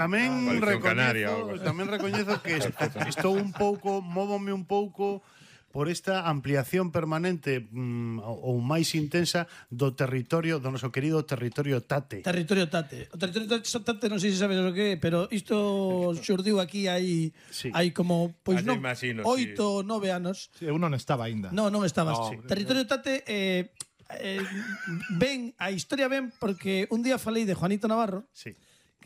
Tamén recoñezo que estou un pouco, móvome un pouco por esta ampliación permanente ou máis intensa do territorio, do noso querido territorio Tate. Territorio Tate. O territorio Tate non sei se sabes o que é, pero isto xurdiu aquí hai como, pois non, 8 ou 9 anos. Eu non estaba aínda. Non estabas. Territorio Tate a historia ven porque un día falei de Juanito Navarro. Sí.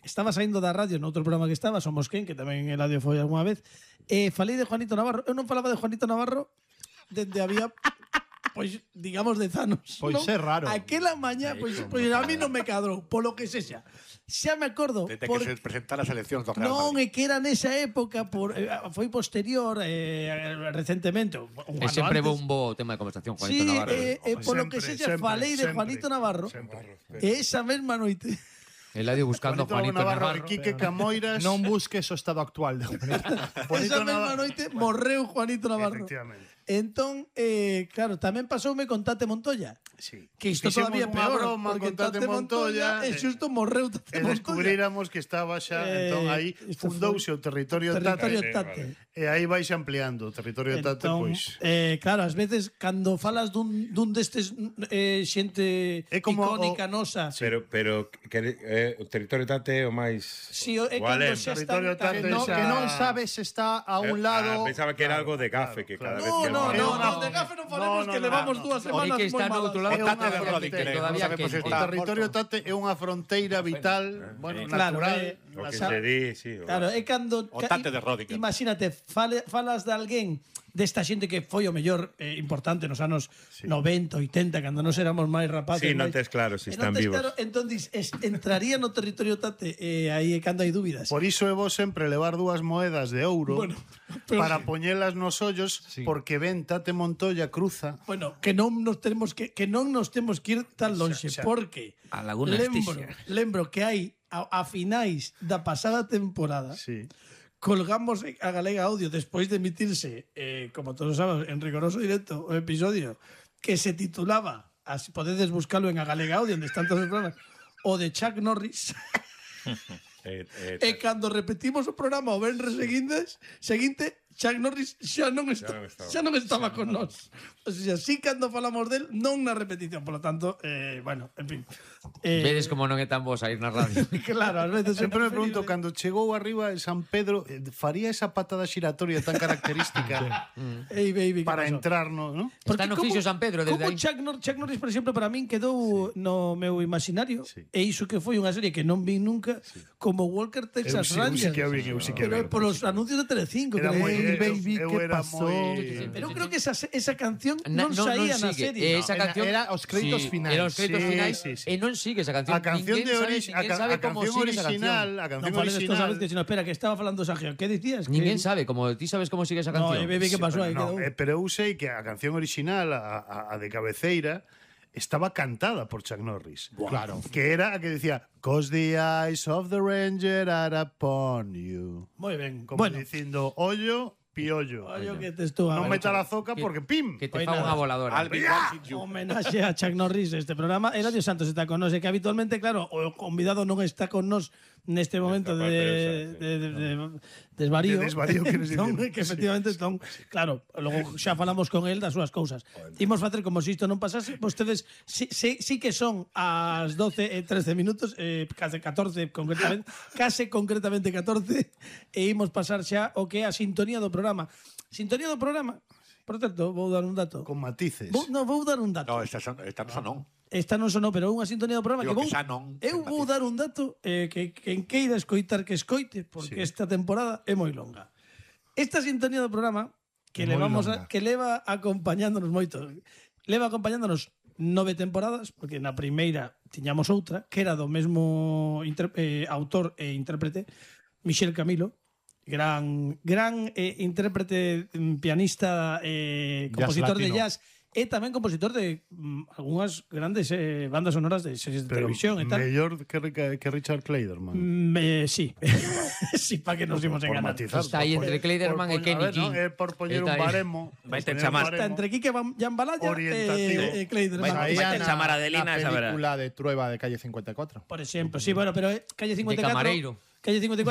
Estaba saindo da radio noutro programa que estaba, Somos Quen, que tamén el radio foi algunha vez, falei de Juanito Navarro. Eu non falaba de Juanito Navarro dende había, pois, digamos, 10 anos. Pois é raro. Aquela mañá, pois a mí non me cadrou, polo que sexa. Xa me acordo. Desde que se presentara as eleccións do Real Madrid. Non, é que era nesa época, foi posterior, recentemente. E sempre bombo o tema de conversación, Juanito Navarro. Polo que sexa, falei de Juanito Navarro. E esa mesma noite... Eladio buscando Juanito Navarro. Quique Camoiras. Non busques o estado actual de Esa mesma noite morreu Juanito Navarro. Efectivamente. Entón, claro, tamén pasoume con Tate Montoya. Sí. Que isto todavía peor, porque con Tate Montoya e xusto morreu Tate Montoya. Descubriramos que estaba xa, entón aí fundouse o territorio Tate. E aí vais ampliando o territorio Tate, pois. Claro, ás veces cando falas dun destes xente icónica nosa. Pero o territorio Tate é o máis... Si, é cando xa está... Que non sabes se está a un lado... Pensaba que era algo de gafe, que cada vez que... No, de gafe non falemos, que levamos 2 semanas moi malas. O territorio Tate é unha fronteira vital, natural. O que se di, sí. Claro, é cando... O Tate de Rodinger. Imagínate, falas de alguén desta xente que foi o mellor importante nos anos 90, 80, cando nos éramos máis rapaces. Sí, non tes claro se están vivos. Entón, entraría no territorio Tate aí é cando hai dúbidas. Por iso é vos sempre levar 2 moedas de ouro para poñelas nos ollos, porque ven Tate Montoya cruza. Bueno, que non nos temos que ir tan lonxe, porque a Laguna lembro que hai a finais da pasada temporada. Sí. Colgamos a Galega Audio despois de emitirse, como todos sabes, en rigoroso directo, o episodio que se titulaba, así podedes buscalo en a Galega Audio, onde están todos os programas, o de Chuck Norris. E cando repetimos o programa o venres seguinte, Chuck Norris xa non estaba con nós. O sea, sí, cando falamos del, non na repetición, por lo tanto, bueno, en fin. Vedes como non é tan vos a ir na radio. Claro, ás veces sempre me pregunto, cando chegou arriba de San Pedro, faría esa patada xiratoria tan característica para entrar no... Está no fixo San Pedro desde aí. Chuck Norris, por exemplo, para min quedou no meu imaginario, e iso que foi unha serie que non vi nunca, como Walker Texas Rangers. Pero polos anuncios de Telecinco, era moi baby, que pasó? Pero creo que esa canción non saía na serie. Esa canción era os créditos finais. Era os créditos finais e non sigue esa canción. A canción original, a canción original. Espera, que estaba falando Sergio. Que dicías? Ninguén sabe, como ti sabes como sigue esa canción. No, baby, que pasou aí? Pero eu sei que a canción original, a de cabeceira, estaba cantada por Chuck Norris. Claro. Que era a que decía "'Cause the eyes of the ranger are upon you". Moi ben. Como dicindo, ollo, piollo. Ollo que te estou a non meta la zoca porque pim. Que te fa unha voladora. Homenaxe a Chuck Norris este programa. Eladio Santos está con nos, e que habitualmente, claro, o convidado non está con nos neste momento de desvarío. De desvarío, queres dicir. Que efectivamente están, claro, logo xa falamos con el das súas cousas. Imos facer como se isto non pasase. Vostedes sí que son as 12 e 13 minutos, case 14 concretamente, concretamente 14, e imos pasar xa o que é a sintonía do programa. Sintonía do programa. Por certo, vou dar un dato. Con matices. Vou dar un dato. No, esta non. Esta non sonou, pero unha sintonía do programa. Digo que xa non. Eu vou dar un dato que quen queira escoitar que escoite, porque esta temporada é moi longa. Esta sintonía do programa que leva acompañándonos moito. Leva acompañándonos 9 temporadas, porque na primeira tiñamos outra, que era do mesmo autor e intérprete, Michel Camilo, gran intérprete, pianista, compositor de jazz, e tamén compositor de algunhas grandes bandas sonoras de series de televisión e tal. Mellor que Richard Clayderman. Sí. Sí, para que nos imos Por enganar. matizar. Está aí entre Kleiderman e Kenny King. Por poñer un Está aí. baremo. Vai te poñer un chamar. baremo. Está entre Quique Jambalaya Orientativo. e Kleiderman. Vai te chamar a Adelina, la esa verá. película de Trueba de Calle 54. Por exemplo, sí, bueno, pero Calle 54... De camareiro. Calle 54